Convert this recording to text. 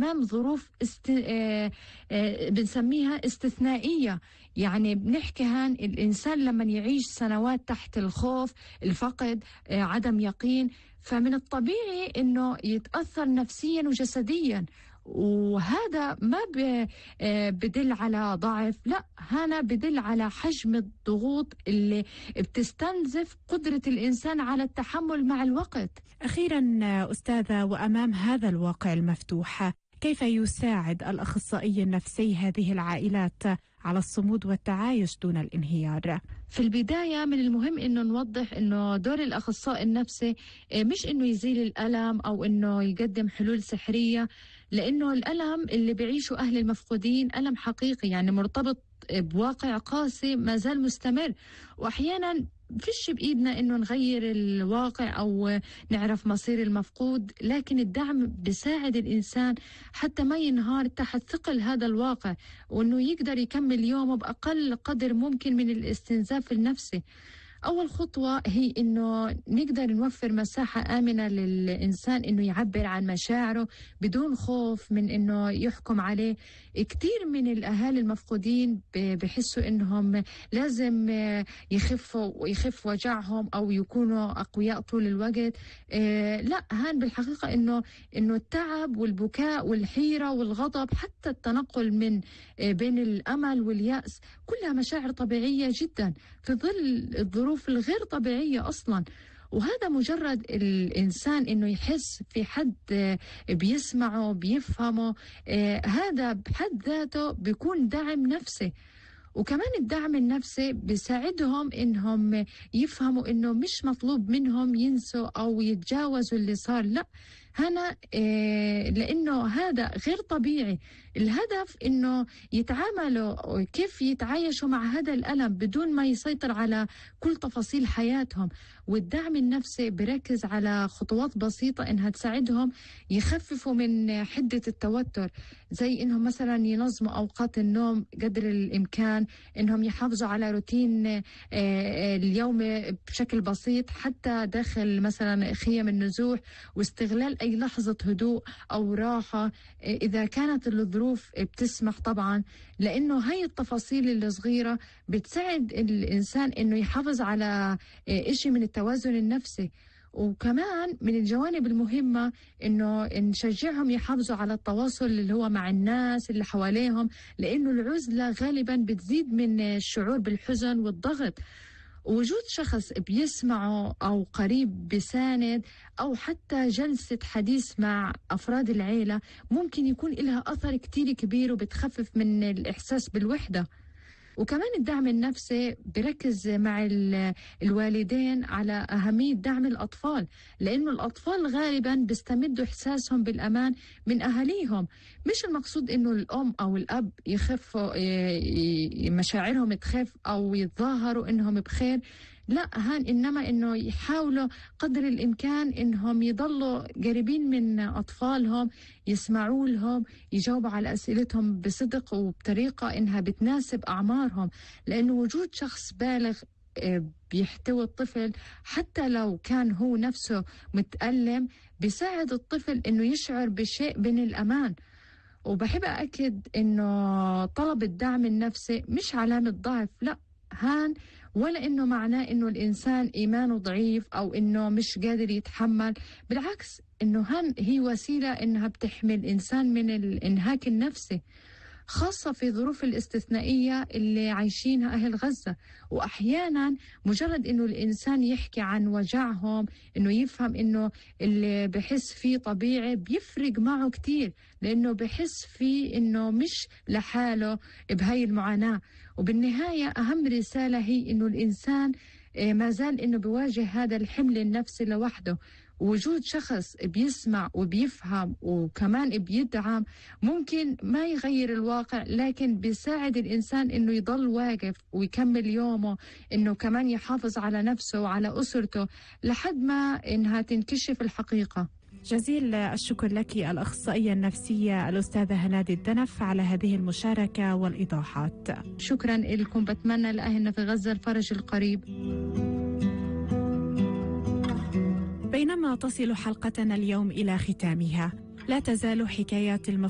أمام ظروف بنسميها استثنائية. يعني بنحكي هان الإنسان لما يعيش سنوات تحت الخوف، الفقد، عدم يقين، فمن الطبيعي إنه يتأثر نفسيا وجسديا. وهذا ما بدل على ضعف، لا، هنا بدل على حجم الضغوط اللي بتستنزف قدرة الإنسان على التحمل مع الوقت. أخيرا أستاذة، وأمام هذا الواقع المفتوح، كيف يساعد الأخصائي النفسي هذه العائلات على الصمود والتعايش دون الانهيار؟ في البداية من المهم إنه نوضح إنه دور الأخصائي النفسي مش إنه يزيل الألم أو إنه يقدم حلول سحرية، لأنه الألم اللي بيعيشه أهل المفقودين ألم حقيقي، يعني مرتبط بواقع قاسي ما زال مستمر. وأحيانا فيش بإيدنا إنه نغير الواقع أو نعرف مصير المفقود، لكن الدعم بيساعد الإنسان حتى ما ينهار تحت ثقل هذا الواقع، وإنه يقدر يكمل يومه بأقل قدر ممكن من الاستنزاف النفسي. أول خطوة هي إنه نقدر نوفر مساحة آمنة للإنسان إنه يعبر عن مشاعره بدون خوف من إنه يحكم عليه. كتير من الأهالي المفقودين بحسوا إنهم لازم يخف وجعهم أو يكونوا أقوياء طول الوقت. لا، هان بالحقيقة إنه التعب والبكاء والحيرة والغضب، حتى التنقل من بين الأمل واليأس، كلها مشاعر طبيعية جدا في ظل الظروف الغير طبيعية أصلا. وهذا مجرد الإنسان إنه يحس في حد بيسمعه بيفهمه، هذا بحد ذاته بيكون دعم نفسي. وكمان الدعم النفسي بيساعدهم إنهم يفهموا إنه مش مطلوب منهم ينسوا أو يتجاوزوا اللي صار، لا، هنا لأنه هذا غير طبيعي. الهدف إنه يتعاملوا كيف يتعايشوا مع هذا الألم بدون ما يسيطر على كل تفاصيل حياتهم. والدعم النفسي بركز على خطوات بسيطة إنها تساعدهم يخففوا من حدة التوتر، زي إنهم مثلا ينظموا أوقات النوم قدر الإمكان، إنهم يحافظوا على روتين اليومي بشكل بسيط حتى داخل مثلا خيم النزوح، واستغلال أي لحظة هدوء أو راحة إذا كانت الظروف بتسمح طبعا، لأنه هاي التفاصيل الصغيرة بتساعد الإنسان إنه يحافظ على إشي من التوازن النفسي. وكمان من الجوانب المهمة إنه نشجعهم يحافظوا على التواصل اللي هو مع الناس اللي حواليهم، لأنه العزلة غالبا بتزيد من الشعور بالحزن والضغط. وجود شخص بيسمعه أو قريب بساند أو حتى جلسة حديث مع أفراد العيلة ممكن يكون لها أثر كتير كبير وبتخفف من الإحساس بالوحدة. وكمان الدعم النفسي بركز مع الوالدين على أهمية دعم الأطفال، لأنه الأطفال غالبا بيستمدوا إحساسهم بالأمان من أهاليهم. مش المقصود إنه الأم أو الأب يخفوا مشاعرهم تخف أو يتظاهروا إنهم بخير، لا، إنما إنه يحاولوا قدر الإمكان إنهم يضلوا قريبين من أطفالهم، يسمعوا لهم، يجاوبوا على أسئلتهم بصدق وبطريقة إنها بتناسب أعمارهم. لأنه وجود شخص بالغ بيحتوي الطفل حتى لو كان هو نفسه متألم بيساعد الطفل إنه يشعر بشيء من الأمان. وبحب أكد إنه طلب الدعم النفسي مش علامة ضعف، لا، ولا إنه معناه إنه الإنسان إيمانه ضعيف أو إنه مش قادر يتحمل. بالعكس، إنه هي وسيلة إنها بتحمي الإنسان من الإنهاك النفسي، خاصة في ظروف الاستثنائية اللي عايشينها أهل غزة. وأحيانا مجرد إنه الإنسان يحكي عن وجعهم، إنه يفهم إنه اللي بحس فيه طبيعي، بيفرق معه كتير، لأنه بحس فيه إنه مش لحاله بهاي المعاناة. وبالنهاية أهم رسالة هي إنه الإنسان ما زال إنه بيواجه هذا الحمل النفسي لوحده. وجود شخص بيسمع وبيفهم وكمان بيدعم ممكن ما يغير الواقع، لكن بيساعد الإنسان إنه يضل واقف ويكمل يومه، إنه كمان يحافظ على نفسه وعلى أسرته لحد ما إنها تنكشف الحقيقة. جزيل الشكر لك الأخصائية النفسية الأستاذة هنادي الدنف على هذه المشاركة والإيضاحات. شكرا لكم، بتمنى لأهلنا في غزة الفرج القريب. بينما تصل حلقتنا اليوم إلى ختامها، لا تزال حكايات